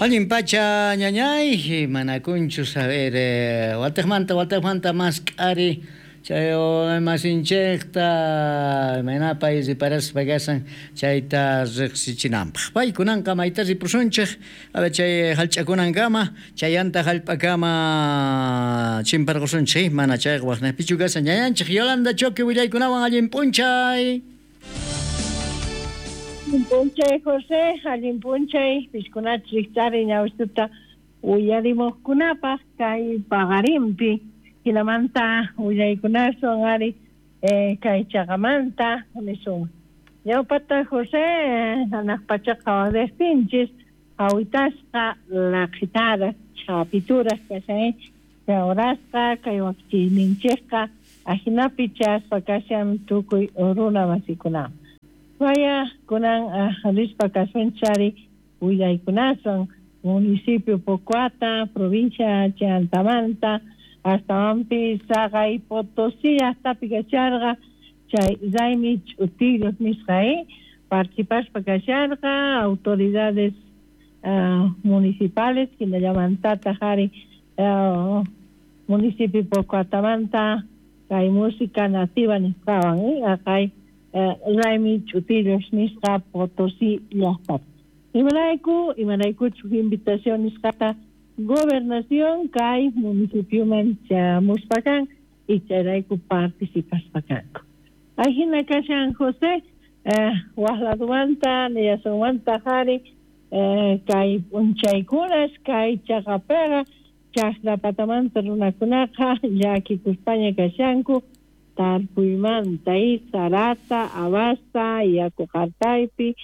Allin pacha ñañay, manakunchu saber watejmanta mask'ari chay masinchejta imaynapay riparaspa kashan chayta riqsichinanpaq. Paykunanqa mayta ripusunchej chay hallch'akunankama chayanta hallp'akama chimparqusunchej mana chayqa waqnaypichu kashan ñañanchej Yolanda Choque willaykunawan allin p'unchay. Allin p'unchay José, allin p'unchay piskunachus riqch'ari ñawistuta uyarimuqkunapaq kay paqarinpi hinamanta willaykunaswan ari kay chaqamanta nisunman. Ñawpata José hanaq pachaqa waqriqtinchis hawitasqa laqhitaraq chhapituraq kashan chawrasqa kay wakichiyninchikqa ahinapi chaspa kashan tukuy runa masikunaman. Vaya kunan rispa kasunchari willaykunaswan municipio Pocoata, provincia Chantamanta, astawanpi Saqay Potosí llaqtapi kasharqa chay Raymi Ch'utillos nisqa participaspa kasharqa autoridades municipales hinallamantataq ari municipio Pocoatamanta kay música nativa nisqawan aqay Raymi Ch'utillos nisqa Potosí llaqtapi. Imarayku imaraykuchu invitación nisqata gobernación kay municipioman chamuspa kan y chayrayku participaspa kanku. Ahina kashan José waq ladumanta niyasunmanta qhari kay p'unchaykunas kay chaqapiqa chaqra patamanta runakunaqa llakikuspaña kashanku tarpuymanta sarata, abasta, yaku qartaypi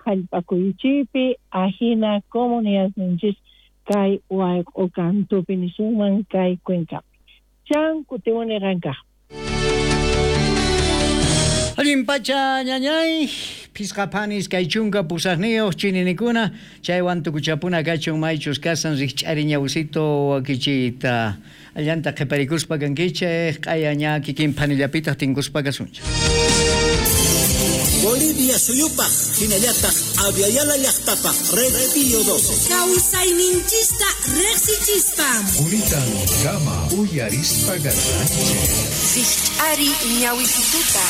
hallp'akuychipi ahina comunidadninchis kay wayq'u kantupi nisunman kay cuencapi. Chan kutimuni qankaq. Allin pacha ñañay, phisqa phanis kay chunka pusaqniyuq chininikuna chaywan tukuchapuna kachun maychus kasan rikch'ari ñawsito wakichiyta allanta qhiparikuspa kankichej q'aya ña kikin phanillapitaq tinkuspa kasunchik. Bolivia suyupaq hinallataq Aviala llaqtapaq Red Pío 12. Kawsayninchista riqsichispa. Quritan kama uyarispa kasqanchik. Rikch'ari ñawisituta.